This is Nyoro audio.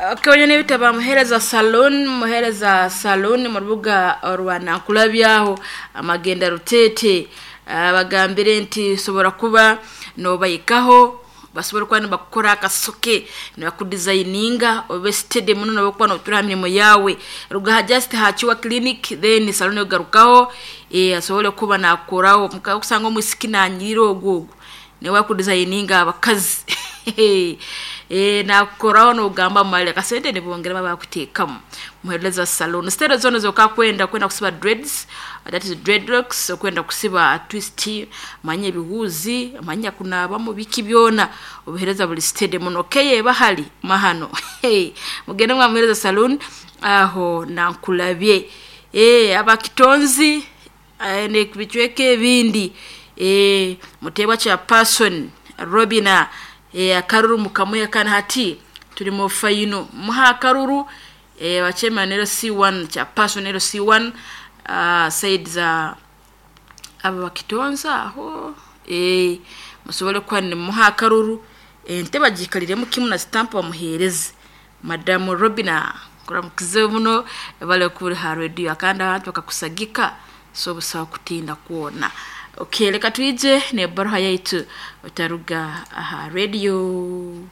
Kawanya n'ebitabo Muhereza Saloon, Muhereza Saloon mu rubuga rwa Nankulabyaho amagenda Rutete. Bagambire nti sobora kuba nobayikaho, basobora kuba nibakukora akasoke, nibakudesigninga obe steady muno nobakuba notura ha mirimo yawe. Rugaha just hakiwa clinic, then salon ogarukaho, asobole kuba nakoraho kusanga omwisiki nanyirira ogwo niwe akudesigninga abakazi. Nakukoraho nogamba mali akasente nibongera bakuteekamu. Muhereza Saloon sitero zona zokakwenda kwenda kusiba dreads, that is dreadlocks, okwenda kusiba twist, manya ebihuuzi, manya kunabamu, biki byona obuhereza buli steady muno keye bahali mahano. Mugende mwa Muhereza Saloon aho Nankulabye. Abakitonzi nebicweka ebindi, mutebwa kya person Robina, akaruru mukamuhe kandi hati turi mu fayino muha akaruru, bachairman LC1 kya person LC1, side za aba bakitonza aho, musobole kuba nimuha akaruru, ente bagikaliremu kimu na stamp bamuhereze Madamu Robina. Kuramukize muno bale kuri ha radio kandi abantu bakakusagika, so busaba kutinda kwona. Okay, leka twije ne baruha yaitu otaruga aha radio.